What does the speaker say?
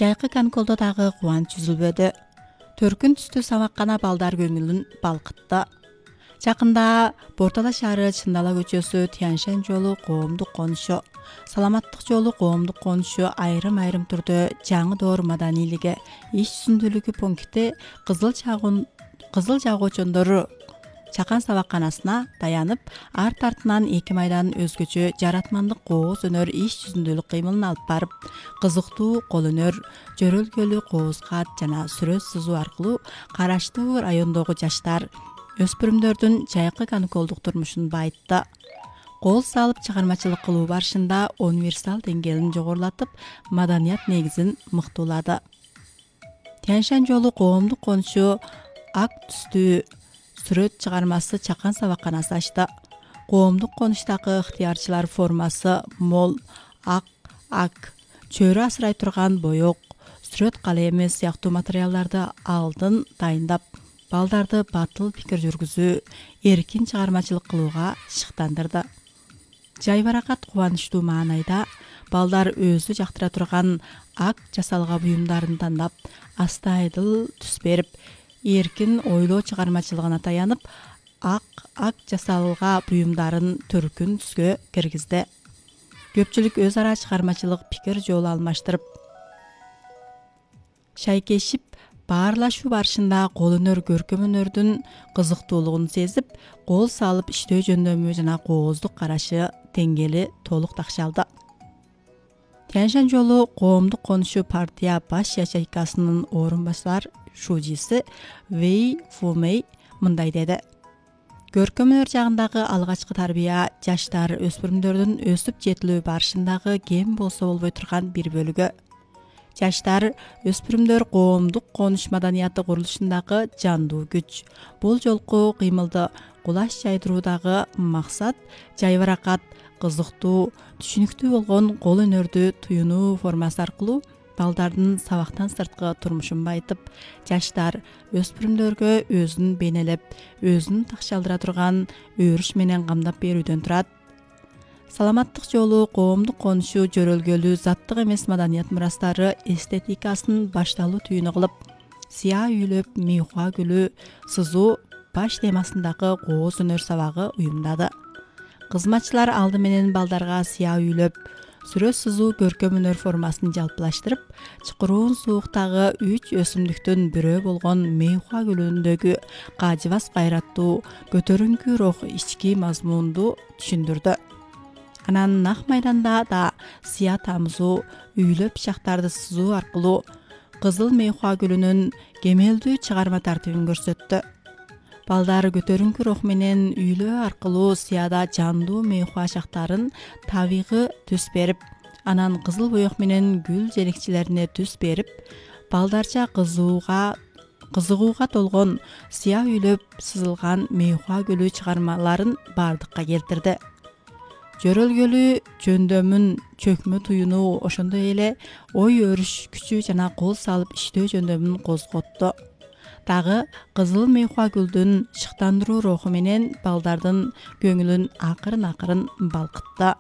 Жайкы каникулда дагы кубанч үзүлбөдү. Төркүн түстүү сабаккана балдар көңүлүн балкытты. Жакында Бортала шаары Чындала көчөсү Тяньшань жолу коомдук конушу, Саламаттык жолу коомдук конушу айрым түрдө жаңы доор маданийлиги иш жүзүндүүлүгү пункти кызыл жагуучондор чакан сабакканасына таянып, арт артынан 2 майдан өзгөчө жаратмандык кооз өнөр иш жүзүндүүлүк кыймылын алып барып, кызыктуу кол өнөр, жөрөлгөлүү кооз-кат жана сүрөт сызуу аркылуу караштуу райондогу жаштар, өспүрүмдөрдүн жайкы каникулдук турмушун байытты. Кол салып чыгармачылык кылуу барышында универсал деңгээлин жогорулатып, маданият негизин мыктуулады. Тяньшань жолу коомдук конушу ак түстүү сүрөт чыгармасы чакан сабакканасы ачты. Коомдук конуштагы ыктыярчылар формасы мол, ак, чөйрө асырай турган боек, сүрөт калеми сыяктуу материалдарды алдын дайындап, балдарды батыл пикир жүргүзүү, эркин чыгармачылык кылууга шыктандырды. Жайбаракат кубанычтуу маанайда балдар өзү жактыра турган ак жасалга буюмдарын тандап, астайдыл түс берип, эркин ойлоо чыгармачылыгына таянып, ак жасалга буюмдарын төркүн түскө киргизди. Көпчүлүк өз ара чыгармачылык пикир жол алмаштырып, шайкешип, баарлашуу барышында кол өнөр көркөм өнөрдүн кызыктуулугун сезип, кол салып иштөө жөндөмү жана кооздук карашы деңгээли толук такшалды. Тяньшань жолу коомдук конушу партия баш ячейкасынын орун басар шужиси Вэй Фумэй мындай деди: көркөм өнөр жагындагы алгачкы тарбия жаштар, өспүрүмдөрдүн өсүп жетилүү барышындагы кем болсо болбой турган бир бөлүгү. Жаштар, өспүрүмдөр коомдук конуш маданияты курулушундагы жандуу күч. Бул жолку кыймылды кулаш жайдыруудагы максат жайбаракат, кызыктуу, түшүнүктүү болгон кол өнөрдү туюнуу формасы аркылуу балдардын сабактан сырткы турмушун байытып, жаштар, өспүрүмдөргө өзүн бейнелеп, өзүн такшалдыра турган өрүш менен камдап берүүдөн турат. Саламаттык жолу коомдук конушу жөрөлгөлүү заттык эмес маданият мурастары эстетикасын башталуу түйүнү кылып, сыя үйлөп, мейхуа гүлү сызуу баш темасындагы кооз өнөр сабагы уюмдады. Кызматчылар алды менен балдарга сыя үйлөп, сүрөт сызуу көркөм өнөр формасын жалпылаштырып, чукуруун сууктагы 3 өсүмдүктүн бирөө болгон мейхуа гүлүндөгү кажыбас кайраттуу, көтөрүңкү рух ички мазмунду түшүндүрдү. Анан нак майданда да сыя тамызуу, үйлөп пышактарды сызуу аркылуу кызыл мейхуа гүлүнүн кемелдүү чыгарма тартибин көрсөттү. Балдар көтөрүңкү рух менен үйлөө аркылуу сыяда жандуу мейхуа шактарын табигый түс берип, анан кызыл боек менен гүл желекчилерине түс берип, балдарча кызыгууга толгон сыя үйлөп сызылган мейхуа гүлү чыгармаларын бардыкка келтирди. Жөрөлгөлүү жөндөмүн чөкмө туюнуу, ошондой эле ой өрүш күчү жана кол салып иштөө жөндөмүн козготту. Дагы кызыл мейхуа гүлдүн шыктандыруу руху менен балдардын көңүлүн акырын балкытты.